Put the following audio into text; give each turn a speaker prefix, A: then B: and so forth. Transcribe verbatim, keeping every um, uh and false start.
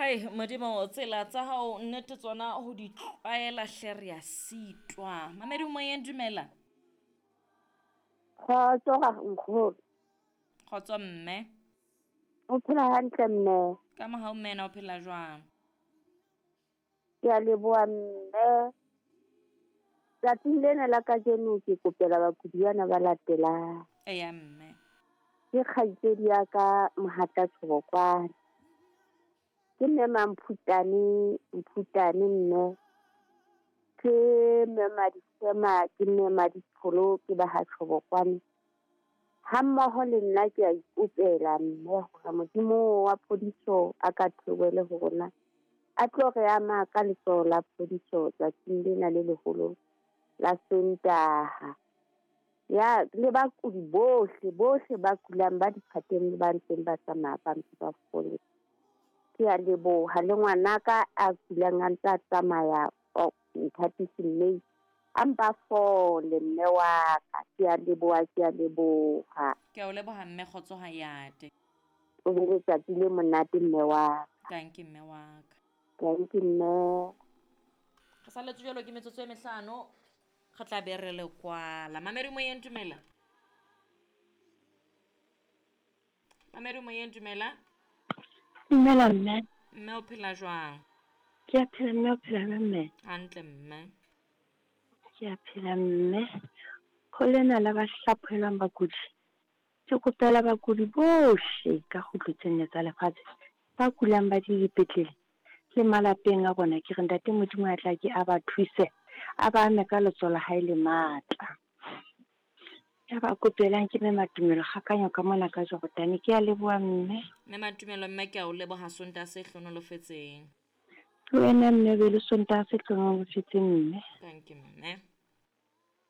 A: Hai Modimo, tsela tsa hao nnete tsona ho di tlwaela hle re a sitwa. Mamedi moyeng, dumela.
B: Kgotso ra nkgono.
A: Kgotso mme.
B: O phela hantle mme?
A: Ka mohau mme, na o phela jwang?
B: Ke a leboha mme. Tsatsing lena la kajeno ke kopela bakudi bana ba latelang.
A: Eya mme.
B: Ke kgaitsedi ya ka Mohata Tshobokwane. Ke mme Mamphutane, Mphutane mme. Ke mme Madisema, ke mme Maditsholo, ke ba ha Tshobokwane. Ha mmoho le nna ke a ikopela mme hore Modimo wa phodiso a ka theohele ho rona. A tlo re ama ka letsoho la phodiso tsatsing lena le leholo la Sontaha. Ya le bakudi bohle, bohle ba kulang ba diphateng le ba ntseng ba tsamaya ba ntse ba fole. Ke a leboha le ngwanaka a kulang a ntse a tsamaya Nthatisi mme a mpa fole mme wa ka. Ke a leboha, ke a leboha.
A: Ke a o leboha mme, kgotso ha yate.
B: O be letsatsi le monate mme wa ka.
A: Thank you mme wa ka.
B: Thank you mme.
A: Re saletswe jwalo ke metsotso e mehlano. Re tla be re le kwala. Mamedi moyeng, dumela. Mamedi moyeng, dumela.
C: Dumela mme.
A: Mme o phela jwang?
C: Ke a phela mme, o phela jwang mme?
A: Hantle mme.
C: Ke a phela mme. Ho lena la ba hlaphohelwang bakudi. Ke kopela bakudi bohle ka kgutlo tse nne tsa lefatshe ba kulang ba di dipetlele le malapeng a bona. Ke re ntate Modimo a tla ke a ba thuse, a ba ame ka letsoho la hae le matla. Ya ba kopelang ke mme Matumelo Kgakanyo ka mona ka Jordan. Ke a leboha mme.
A: Mme Matumelo mme, ke a o leboha Sontaha se hlonolofetseng.
C: Le wena mme, be le Sontaha se hlonolofetseng mme.
A: Thank you mme.